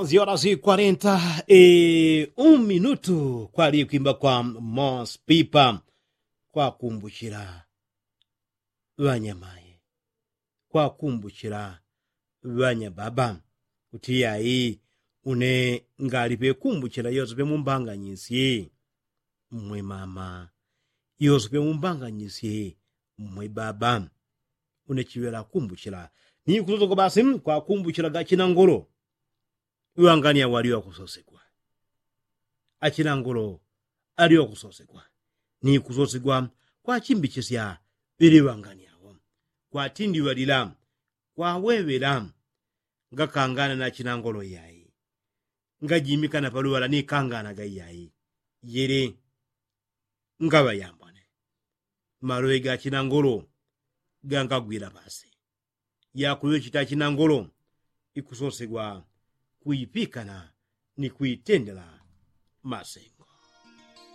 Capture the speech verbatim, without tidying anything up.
Ziola zi kwarenta e un minutu kwali kwimba kwa mospipa. Kwakumbuchila ŵanyamaye, kwakumbuchila ŵanyababa. Kuti yayi une ngali pekumbuchila yose pemumbanganyisie mmwe mama, yose pemumbanganyisie mmwe baba. Une chiŵela kumbuchila ni kusosegwa basi kwakumbuchila gachina ngolo. Ŵangania walio kusosegwa, achina ngolo alio kusosegwa ni kusosegwa kwachimbichisya ŵili ŵangania wo, kwatindiŵalila kwaweŵela. Ngakangana na chinangolo iyai, ngajimikana paluŵala ni kanganaga iyai. Yili ngaŵa yambone maloŵe ga chinangolo gangagwila pasi. Yakuŵechita chinangolo ikusosegwa kuipikana ni kuitendela masengo.